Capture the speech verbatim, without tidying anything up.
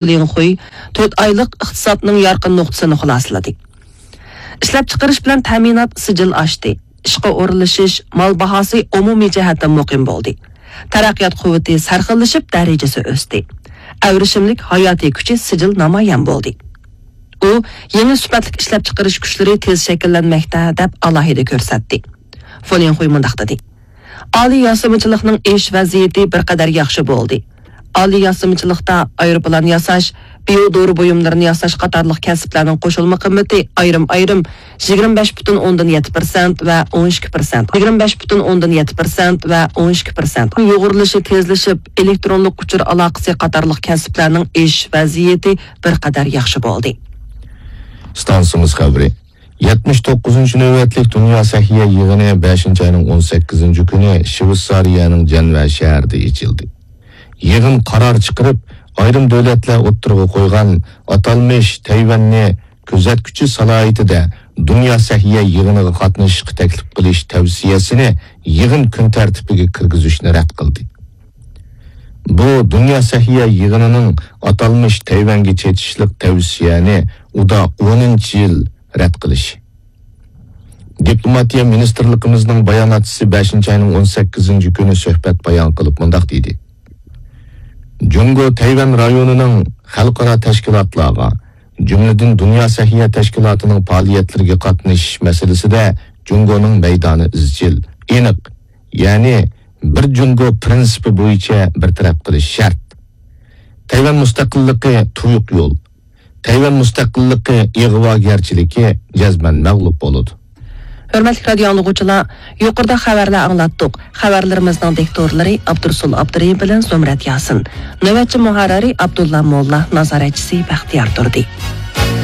لىڭ خۇي تۆت ئايلىق ئىقتىسادنىڭ يارقىن نۇقتىسىنى خۇلاسىلىدى. ئىشلەپچىقىرىش بىلەن تەمىنات سىجىل ئاشتى. ئىشقا ئورۇنلىشىش، مال باھاسى ئومۇمىي جەھەتتىن مۇقىم بولدى. تەرەققىيات قۇۋۋىتى سەرخىللىشىپ، دەرىجىسى ئۆستى. ئەۋرىشىملىك ھاياتىي كۈچى سىجىل نامايان بولدى. ئۇ يېڭى سۈپەتلىك ئىشلەپچىقىرىش كۈچلىرى تېز شەكىللەنمەكتە، دەپ ئالاھىدە كۆرسەتتى. فۇلىنخۇي مۇنداق دېدى: ئالىي ياسىمىچىلىقنىڭ ئىش ۋەزىيىتى بىر قەدەر ياخشى بولدى. ئالىي ياسىمىچىلىقتا ئايروپىلان ياساش، بىيو دورا بۇيۇملىرىنى ياساش قاتارلىق كەسىپلەرنىڭ قوشۇلما قىممىتى ئايرىم-ئايرىم يىگىرمە بەش پۈتۈن ئوندىن يەتتە پىرسەنت ۋە ئون ئىككى پىرسەنت، يىگىرمە بەش پۈتۈن ئوندىن يەتتە پىرسەنت ۋە ئون ئىككى پىرسەنت، يۇغۇرۇلۇشى تېزلىشىپ، ئېلېكترونلۇق ئۇچۇر ئالاقىسى قاتارلىق كەسىپلەرنىڭ ئىش ۋەزىيىتى بىر قەدەر ياخشى بولدى. ئىستانسىمىز خەۋىرى. يەتمىش توققۇزىنچى نۆۋەتلىك دۇنيا سەھىيە يىغىنى بەشىنچى ئاينىڭ ئون سەككىزىنچى كۈنى شىۋېتسارىيەنىڭ جەنۋە شەھىرىدە ئېچىلدى. يىغىن قارار چىقىرىپ، ئايرىم دۆلەتلەر ئوتتۇرىغا قويغان ئاتالمىش تەيۋەننى كۆزەتكۈچى سالاھىيىتىدە دۇنيا سەھىيە يىغىنىغا قاتنىشىشقا تەكلىپ قىلىش تەۋسىيەسىنى يىغىن كۈن تەرتىپىگە كىرگۈزۈشنى رەت قىلدى. بۇ دۇنيا سەھىيە يىغىنىنىڭ ئاتالمىش تەيۋەنگە چېتىشلىق تەۋسىيەنى ئۇدا ئونىنچى يىل رەت قىلىشى. دىپلوماتىيە مىنىستىرلىقىمىزنىڭ باياناتچىسى بەشىنچى ئاينىڭ ئون سەككىزىنچى كۈنى سۆھبەت بايان قىلىپ مۇنداق دېدى: جۇڭگو تەيۋەن رايونىنىڭ خەلقئارا تەشكىلاتلارغا، جۈملىدىن دۇنيا سەھىيە تەشكىلاتىنىڭ پائالىيەتلىرىگە قاتنىشىش مەسىلىسىدە جۇڭگونىڭ مەيدانى ئىزچىل، ئېنىق، يەنى بىر جۇڭگو پىرىنسىپى بويىچە بىر تەرەپ قىلىش شەرت. تەيۋەن مۇستەقىللىقى تۇيۇق يول. تەيۋەن مۇستەقىللىقى ئىغۋاگەرچىلىكى جەزمەن مەغلۇپ بولىدۇ. ھۆرمەتلىك رادىيو ئاڭلىغۇچىلار، يۇقىرىدا خەۋەرلەر ئاڭلاتتۇق. خەۋەرلىرىمىزنىڭ دىكتورلىرى ئابدۇرۇسۇل ئابدۇرېھىم بىلەن زۇمرەت ياسىن. نۆۋەتچى مۇھەررىرى ئابدۇللا موللا، نازارەتچىسى بەختىيار تۇردى.